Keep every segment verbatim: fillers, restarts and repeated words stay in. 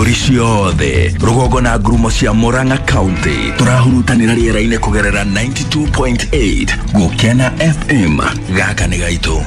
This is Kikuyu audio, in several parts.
Ciothe rũgongo na ngurumo cia Murang'a County tũrahurutanĩra rĩera-inĩ kũgerera ninety-two point eight Gũkena F M. Gaka nĩ gaitũ,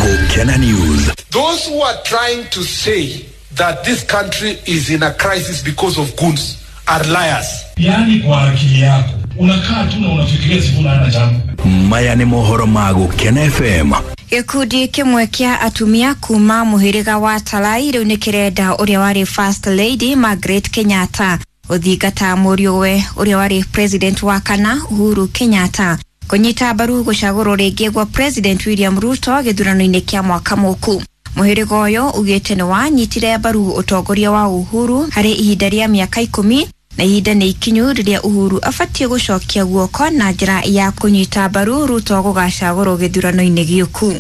Gũkena News. Those who are trying to say that this country is in a crisis because of goons are liars. Yaani kwa akili yako unakaa tu na unafikiria Sifuna hana jambo. Maya nĩ mohoro ma Gũkena F M. Gĩkundi kĩmwe kĩa atumia kuma mũhĩrĩga wa Talai rĩu nĩ kĩrenda ũrĩa warĩ First Lady Margaret Kenyatta gũthingata mũriũwe ũrĩa warĩ president wa kana Uhuru Kenyatta kũnyita mbaru gũcagũrwo rĩngĩ gwa President William Ruto gĩthurano-inĩ kĩa mwaka mũku. Mũhĩrĩga ũyũ ugĩte nĩ wanyitire mbaru ũtongoria wa Uhuru harĩ ihinda rĩa mĩaka ikũmi na ihinda nĩ ikinyu rĩrĩa Uhuru abatiĩ gũcokia guoko na njĩra ya kũnyita mbaru Ruto gũgacagũrwo gĩthurano-inĩ gĩũku.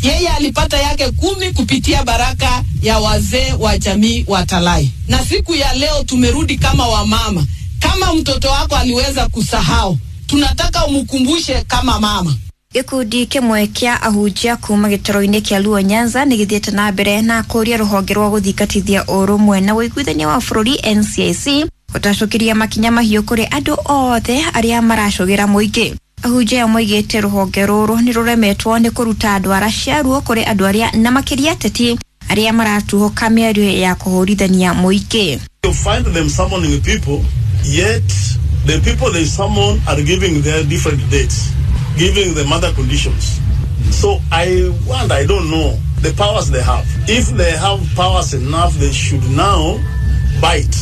Yeye alipata yake kumi kupitia baraka ya wazee wa jamii wa Talai, na siku ya leo tumerudi kama wamama. Kama mtoto wako aliweza kusahau, tunataka umkumbushe kama mama. Gĩkundi kĩmwe kĩa ahunjia kuma gĩtaro-inĩ kĩa Luo Nyanza nĩ gĩthiĩte na mbere na kũria rũhonge rwa gũthingatithia ũrũmwe na ũiguithania wa bũrũri N C I C gũtacũkĩria makinya mahiũ kũrĩ andũ othe arĩa maracũgĩra mũingĩ. Ahunjia aya moigĩte rũhonge rũrũ nĩ rũremetwo nĩ kũruta ndwara ciaruo kũrĩ andũ arĩa na makĩria ateti arĩa maratuhũka mĩario ya kũhũrithania mũingĩ. You find them summoning people, yet the people they summon are giving their different dates, giving them other conditions. So I wonder, I don't know the powers they have. If they have powers enough, they should now bite.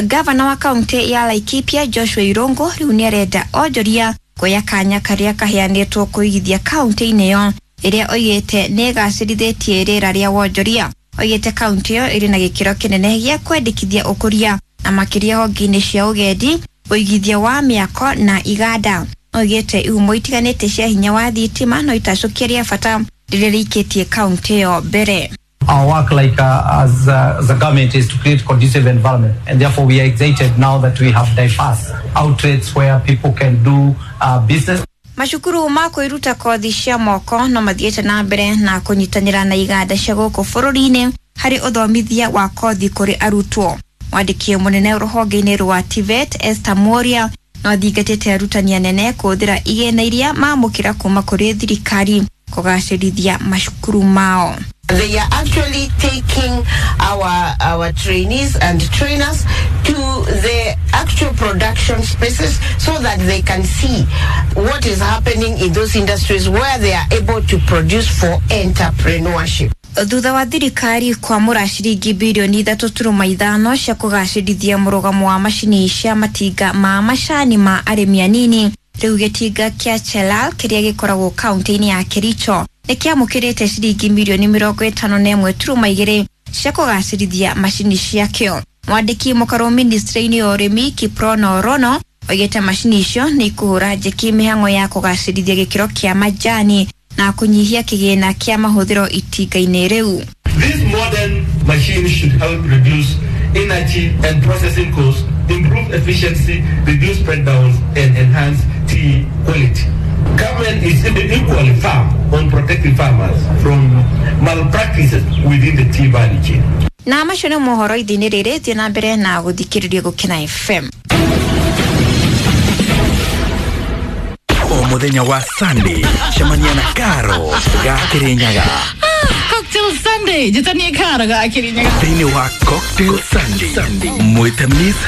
Gavana wa kaunti ya Laikipia Joshua Irongo rĩu nĩ arenda onjoria kuoya kanya karĩa kaheanĩtwo kũigithia kaunti-inĩ ĩyo ĩrĩa oigĩte nĩ ĩgacĩrithĩtie rĩera rĩa wonjoria. Oigĩte kaunti ĩyo ĩrĩ na gĩkĩro kĩnene gĩa kwendekithia ũkũria na makĩria honge-inĩ cia ũgendi, ũigithia wa mĩako na iganda. Oigĩte ihumo itiganĩte cia hinya wa thitima no itacũkia rĩa bata rĩrĩa rĩikĩtie kaunti ĩyo mbere. Our work like uh, as, uh, as a government is to create conducive environment, and therefore we are excited now that we have diverse outlets where people can do uh, business. Macukuru ma kwĩruta kothi cia moko no mathiĩte na mbere na kũnyitanĩra na iganda cia gũkũ bũrũri-inĩ harĩ ũthomithia wa kothi kũrĩ arutwo. Mwandĩki mũnene rũhonge-inĩ rwa TVET Esther Moria no athingatĩte arutani anene kũhũthĩra igĩna iria mamũkĩra kuma kũrĩ thirikari kũgacĩrithia macukuru mao. They are actually taking our our trainees and trainers to the actual production spaces so that they can see what is happening in those industries where they are able to produce for entrepreneurship. Thutha wa thirikari kwamũra ciringi birioni ithatũ turuma ithano cia kũgacĩrithia mũrũgamo wa macini cia matinga ma macani ma arĩmi anini, rĩu gĩtinga kĩa Chelal kĩrĩa gĩkoragwo kaunti-inĩ ya Kericho nĩ kĩamũkĩrĩte ciringi mirioni mĩrongo ĩtano na ĩmwe turuma igĩrĩ cia kũgacĩrithia macini ciakĩo. Mwandĩki mũkarũ ministry-inĩ ya ũrĩmi Kiprono Rono oigĩte macini icio nĩ ikũhũra njeki mĩhang'o ya kũgacĩrithia gĩkĩro kĩa majani na kũnyihia kĩgĩna kĩa mahũthĩro itinga-inĩ rĩu. These modern machines should help reduce energy and processing costs, improve efficiency, reduce breakdowns, and enhance tea quality. Government is equally firm on protecting farmers from malpractices within the tea value chain. Na macio nĩ mohoro ithinĩ rĩrĩ. Thiĩ na mbere na gũthikĩrĩria Gũkena F M. O muthenya wa Sunday cemania na Karo ga Kirinyaga. Cocktail Sunday, njĩtanie Karo ga Kirinyaga. Thĩinĩ wa Cocktail Sunday mwĩte Miss.